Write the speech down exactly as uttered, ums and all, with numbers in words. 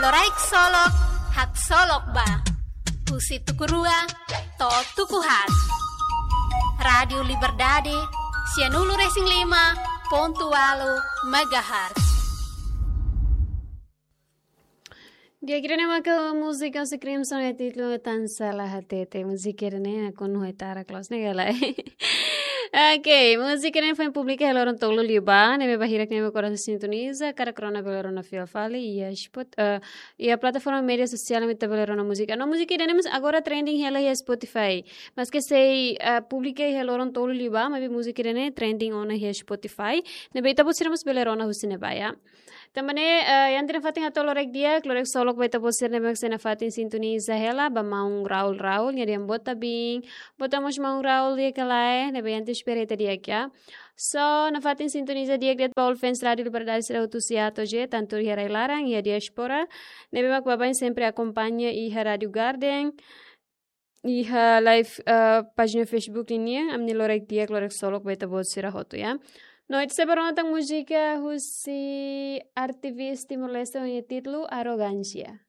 Loraik Solok, haksolok ba. Husi tuku rua to'o tuku haat. Rádiu Liberdade, sianulu-resin-lima pontu ualu megahertz. Di'ak, ida-ne'e maka múzika husi Crimson, títulu Tan Salah Hatete. Múzika ida-ne'e nakonu ho gitara close ne'e gala. Ok, múzika ne'e foin publika iha loron tolu liubá, ne'ebé ba hirak ne'ebé agora sintoniza, karik rona bele rona fila fali iha Spot-, eh, iha plataforma média sosiál ne'ebé ita bele rona múzika. No múzika ida-ne'e mós agora trending hela iha Spotify. Maske sei, eh, publika iha loron tolu liubá, maibé múzika ida-ne'e trending ona iha Spotify. Ne'ebé ita-boot sira mós bele rona husi ne'ebá, ya. Tanba ne'e, eh, iha ita-nia fatin hato'o loraik di'ak, loraik solok ba ita-boot sira ne'ebé sei nafatin sintoniza hela, ba maun Raul Raul, nia dehan boa tarde, boa tarde mós maun Raul, di'ak ka lae, ne'ebé ita espera ita di'ak, ya. So, nafatin sintoniza di'ak de'it ba all fans Rádiu Liberdade sira hotu husi A to'o Z, tantu iha rai-laran, iha diáspora, ne'ebé mak baibain sempre akompaña iha Rádiu Garden, iha live, eh, pájina Facebook nian, ami-nia loraik di'ak, loraik solok ba ita-boot sira hotu, ya. No, ita sei bá rona tan múzika husi artis Timor-Leste ho nia títulu Arrogância.